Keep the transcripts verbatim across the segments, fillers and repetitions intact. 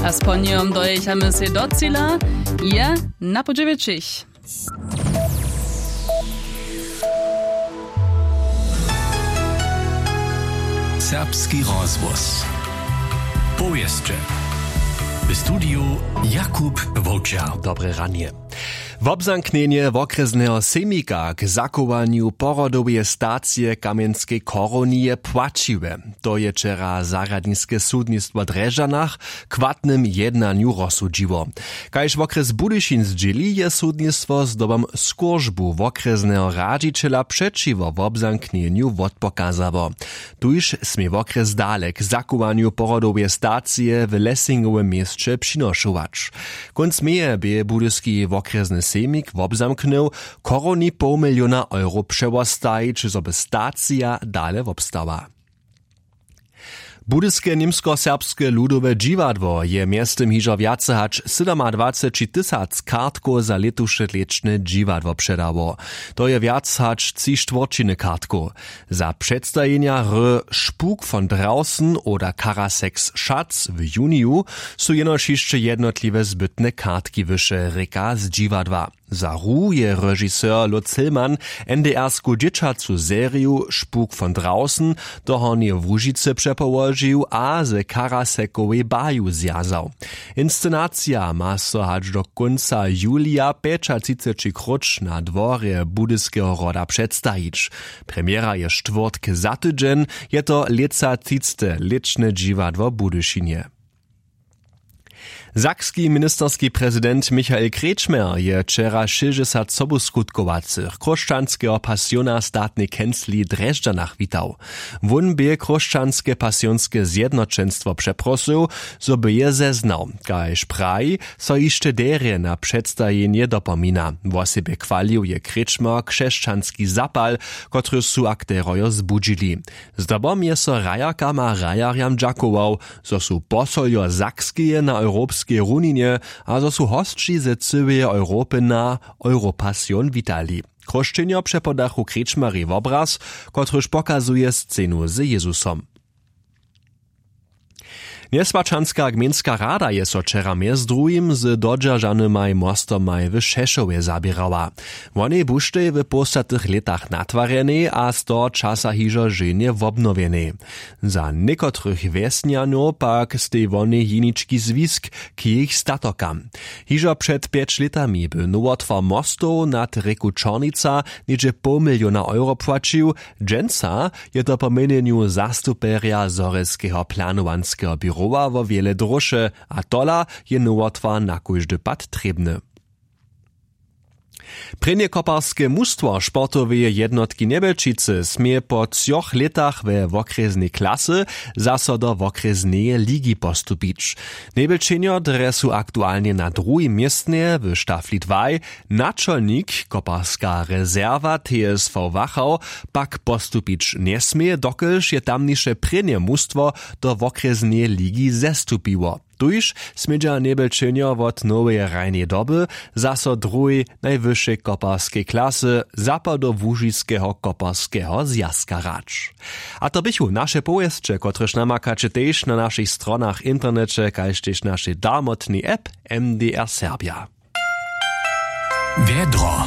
A z ponjejom dojechamy sej do cila, je na podźewjećich. Serbski rozhłos. Powěsće. W studiju Jakub Wowčer. Dobre ranje. Wobzamknjenje wokrjesneho sejmika k zachowanju porodoweje stacije w Kamjenskej Chorowni je płaćiwe. To je wčera zarjadniske sudnistwo w Drježdźanach w chwatnym jednanju rozsudźiło. Kaž wokrjes Budyšin zdźěli, je sudnistwo zdobom skóržbu wokrjesneho radźićela přećiwo wobzamknjenju wotpokazało. Tuž smě wokrjes dale k zachowanju porodoweje stacije w Lessingowym měsće přinošować. Kónc meje bě budyski wokrjesny sejmik wobzamknył, w Chorowni poł miliona euro přewostajić, zo by stacija dale wobstała. Budyske němskoserbske ludowe dźiwadło je mjeztym hižo wjace hač sydomadwaceći tysac kartkow za lětuše lěćne dźiwadło předało. To je wjac hač tři štwórćiny kartkow. Za předstajenja hry Spuk von draußen oder Karaseks Schatz w juniju su jenož hišće jednotliwe zbytne kartki wyše, rěka z dźiwadła. Za hru je režiser Lutz Hillmann NDR-sku dźěćacu seriju Spuk von draußen do Hornjeje Łužicy přepołožił a ze Karasekowej baju zwjazał. Inscenacija ma so hač do kónca julija pjećatřiceći króć na dworje Budyskeho hroda předstajić. Premjera je štwórtk za tydźeń, je to lětsa třicte lěćne dźiwadło w Budyšinje. Sakski ministerski prezident Michael Kretschmer je wčera šěsćdźesat sobuskutkowaceho chróšćanskeho pasiona w statnej kencli w Drježdźanach witał. Wón bě chróšćanske pasionske zjednoćenstwo přeprosył, zo by je zeznał. Kaž praji, so hišće derje na předstajenje dopomina. Wosebje chwalił je Kretschmer křesćanski zapal, kotryž su akterojo zbudźili. Zdobom je so hrajerkam a hrajerjam dźakował, zo su posoljo Sakskeje na europskej runinje a zo su hosći ze cyłeje Europy na Europasion witali. Chróšćenjo přepodachu Kretschmerej wobraz, kotryž pokazuje scenu z Jezusom. Njeswaćanska gmejnska rada je so wčera mjez druhim z dodźeržanymaj mostomaj w Šešowje zaběrała. Wonej buštej w połstatych lětach natwarjenej a z toho časa hižo ženje wobnowjenej. Za někotrych wjesnjanow pak stej wonej jenički zwisk k jejich statokam. Hižo před pjeć lětami by nowotwar mostow nad rěku Čornica něhdźe poł miliona euro płaćił. Dźensa je to po měnjenju zastupjerja zhorjelskeho planowanskeho běrowa wo wjele dróše, a tola je nowotwar na kóždy pad trěbny. Prěnje koparske mustwo sportoweje jednotki Njebjelčicy smě po třoch lětach we wokrjesnej klasy zaso do wokrjesneje ligi postupić. Njebjelčenjo drje su aktualnje na druhim městnje w štafli dwaj. Načolnik, koparska rezerwa T S V Wachau, pak postupić njesmě, dokelž je tamniše prěnje mustwo do wokrjesneje ligi zestupiło. Tuž smědźa Njebjelčenjo wot noweje hrajneje doby zaso druhej najwyšej koparskej klasy zapadołužiskeho koparskeho zwjazka hrać. A to běchu naše powěsće, kotrež namakaće tež na našich stronach w interneće kaž tež našej darmotnej app M D R Serbja. Wjedro.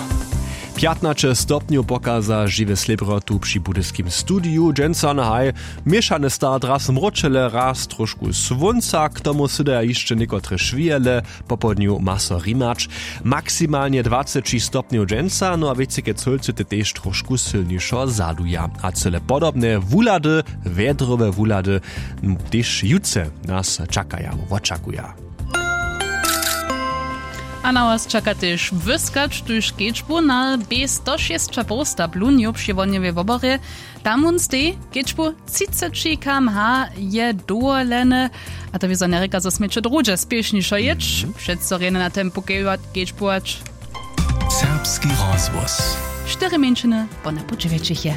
Pjatnaće stopnjow pokaza žiwe slěbrotu při budyskim studiju dźensa na haj. Měšany start, raz mróčele, raz trošku słónca, k tomu sydaja hišće někotre šwijele. Popołdnju ma so rimać. Maksimalnje dwaceći stopnjow dźensa, no a wěcike cólcy te tež trošku sylnišo zaduja a cyle podobne wuhlady, wjedrowe wuhlady, tež jutře nas čakaja, wočakuja. A na was čaka tež wyskać tuž kedźbu na b sto šěsć a poł sta blunju při wonjewej woborje. Tam wón stej, kedźbu třiceći km h je dowolene. A to wězo njerěka zo směće druhdźe spěšnišo jěć, přeco rjene na tempu kedźbować. Serbski rozhłos. Štyri mjeńšiny po napoł dźewjećich je.